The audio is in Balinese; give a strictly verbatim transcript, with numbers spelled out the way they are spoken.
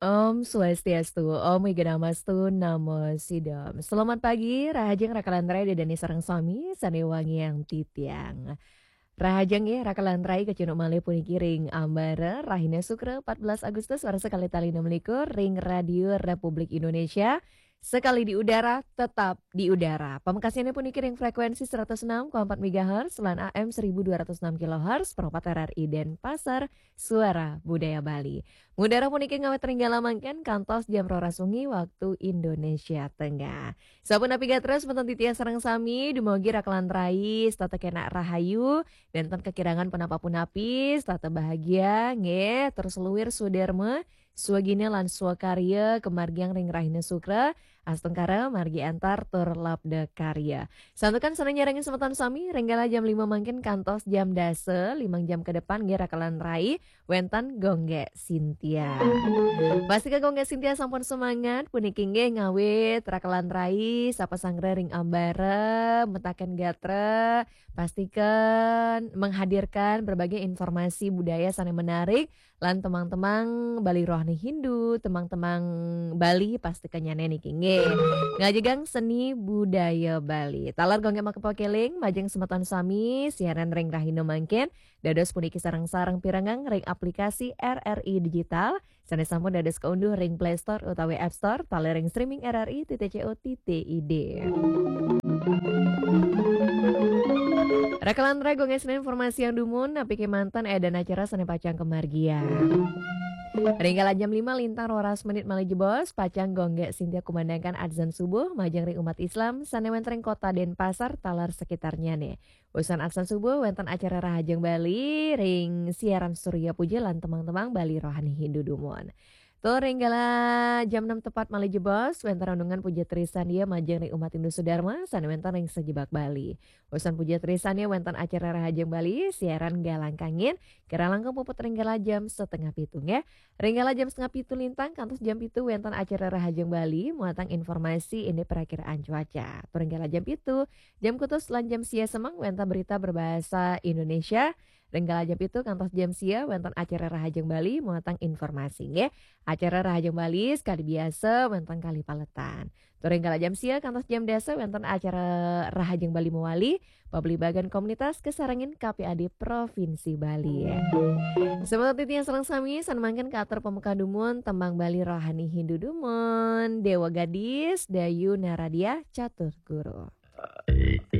Om Swastiastu, Om Wigenamastu, Namo Sidom. Selamat pagi, rahajeng rakalan rai Ida dané sareng sami, sané wangiang titiang. Rahajeng nggih rakalan rai kacunduk malih puniki ring ambara rahina Sukra empat belas Agustus warsa kalih tali enam likur ring Radio Republik Indonesia. Sekali di udara, tetap di udara. Pamekasnyané puniki ring frekuensi seratus enam koma empat megahertz lan A M seribu dua ratus enam kilohertz, Pro empat R R I Denpasar, Suara Budaya Bali. Ngudara puniki ngawit ring galah mangkin kantos jam roras wengi waktu Indonesia Tengah. Sapunapi gatra semeton titiang sareng sami, dumugi rakalan rai setata kenak rahayu, nénten kakirangan punapa-punapi, setata bahagia, nggih, terus luir swadarma, swagina lan swakarya, kamargiang ring rahina Sukra, astungkara margi antar tur labda karya. Santukan sané nyarengin semeton sami, ring galah jam lima mangkin kantos jam dasa, limang jam ke depan nggih rakalan rai, wénten Gonggé Sintia. Pastika Gonggé Sintia sampun semangat, puniki nggih ngawit rakalan rai, sapa sanggra ring ambara, metaken gatra, pastikan menghadirkan berbagai informasi budaya sané menarik, lan temang-temang Bali Rohani Hindu, temang-temang Bali pastikan nyané niki nggih. Ngajegang seni budaya Bali. Taler Gonggé makepakeling, majeng semeton sami, siaran ring rahina mangkin, dados puniki sareng-sareng pirengang ring aplikasi R R I Digital, sané sampun dados kaunduh ring Play Store utawi App Store, taler ring streaming R R I titik C O titik I D. Rakalan rai Gonggé Sintia informasi yang dumun, napi kémanten édan acara sané pacang kamargiang. Ring galah jam lima lintang roras menit malih jebos, pacang Gonggé Sintia kumandangkan adzan subuh, majeng ring umat Islam, sané wénten ring kota Denpasar, taler sekitarnyané. Usan adzan subuh wénten acara Rahajeng Bali ring siaran Surya Puja lan temang-temang Bali Rohani Hindu dumun. Tur ring galah jam enam tepat malih jebos, wénten renungan puja trisandya majeng ring umat Hindu Sudarma, sané wénten ring sajebag Bali. Usan puja trisandya wénten acara Rahajeng Bali, siaran galah kangin, kirang langkung puput ring galah jam setengah pitu, nggih. Ring galah jam setengah pitu lintang, kantos jam pitu wénten acara Rahajeng Bali, muatang informasi indik perakiraan cuaca. Tur ring galah jam pitu, jam kutus lan jam sia semeng wénten berita berbahasa Indonesia. Ring galah jam pitu kantos jam sia wénten acara Rahajeng Bali, muatang informasi, nggih. Acara Rahajeng Bali sekadi biasa wénten kalih paletan. Tur ring galah jam sia kantos jam dasa wénten acara Rahajeng Bali mawali, pabligbagan komunitas kasarengin K P A D Provinsi Bali. Semeton titiang sareng sami, sané mangkin katur pamekah dumun, tembang Bali Rohani Hindu dumun, Déwa Gadis, Dayu Naradia, Catur Guru.